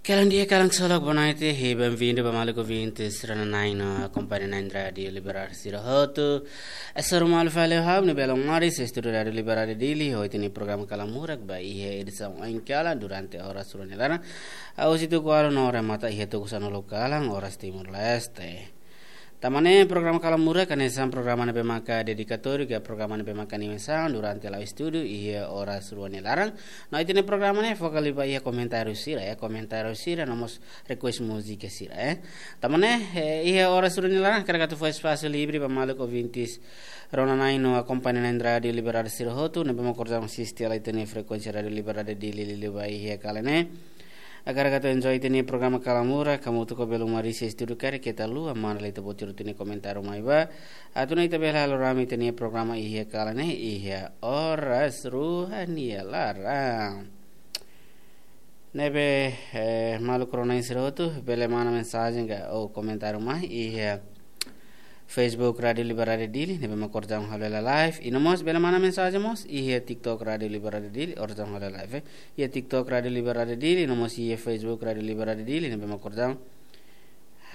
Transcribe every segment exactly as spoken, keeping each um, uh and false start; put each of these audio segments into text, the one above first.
Kalan di'ak, kalan ksolok, boa noite, e bem-vindo ba maluk ouvintes rona-na'in no akompaña na'in Rádiu Liberal sira hotu. Hasoru malu fali ho ha'u, Nebelo Maris, estúdiu Rádiu Liberal Dili, ho ita-nia programa Kalan Murak ba iha edisaun oin kalan durante oras rua nia laran. Husi tuku ualu no remata iha tuku sanulu kalan, oras Timor-Leste. Tanba ne'e programa Kalan Murak hanesan programa ne'ebé maka dedikatóriu, ka programa ne'ebé maka animasaun durante la'o estúdiu iha oras rua nia laran. No ita-nia programa ne'e foka liu ba iha komentáriu sira, iha komentáriu sira, no mós request múzika sira, eh. Tanba ne'e, eh, iha oras rua nia laran, hakarak atu fó espasu livre ba maluk ouvintes rona-na'in no akompaña na'in Rádiu Liberal sira hotu, ne'ebé mak orsida asiste hela ita-nia frekuénsia Rádiu Liberal Dili liuliu ba iha kalan ne'e. Hakarak atu enjoy ita-nia programa Kalan Murak, hamutuk ho belun Maris iha estúdiu karik keta haluha manda lai ita-boot sira-nia komentáriu mai ba. Atu nune'e ita bele halo rame ita-nia programa iha kalan ne'e, iha oras rua nia laran. Ne'ebé, eh, maluk rona-na'in sira hotu, bele manda mensajen ka ou komentáriu mai iha Facebook Rádiu Liberal Dili, ne'ebé mak orsida halo hela live. I no mós bele manda mensajen mós iha TikTok Rádiu Liberal Dili, orsida halo hela live, eh. Iha TikTok Rádiu Liberal Dili, no mós iha Facebook Rádiu Liberal Dili, ne'ebé mak orsida,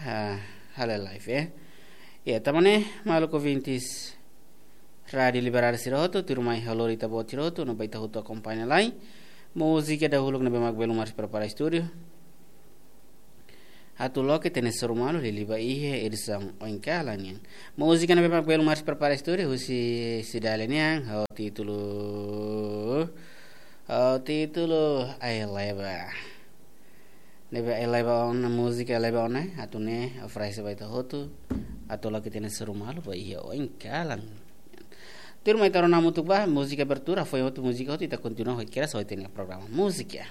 ah, halo hela live, eh. Ya, tanba ne'e, maluk ouvintes Rádiu Liberal sira hotu, tuirmai ha'u lori ita-boot sira hotu, no ba ita hotu akompaña lai múzika dahuluk ne'ebé mak belun Maris prepara estúdiu. Atu loke ita-nia hasoru malu liuliu ba iha edisaun oin kalan nian. Múzika ne'ebé mak belun Maris prepara estúdiu husi Cidália nian, ho títulu, ho títulu Ai Leba. Ne'ebé Ai Leba ona, múzika Ai Leba ona, atu nune'e oferese ba ita hotu, atu loke ita-nia hasoru malu ba iha oin kalan. Tuirmai ita rona hamutuk ba múzika abertura, foin hotu múzika hotu, ita kontinua ho ita-nia programa múzika.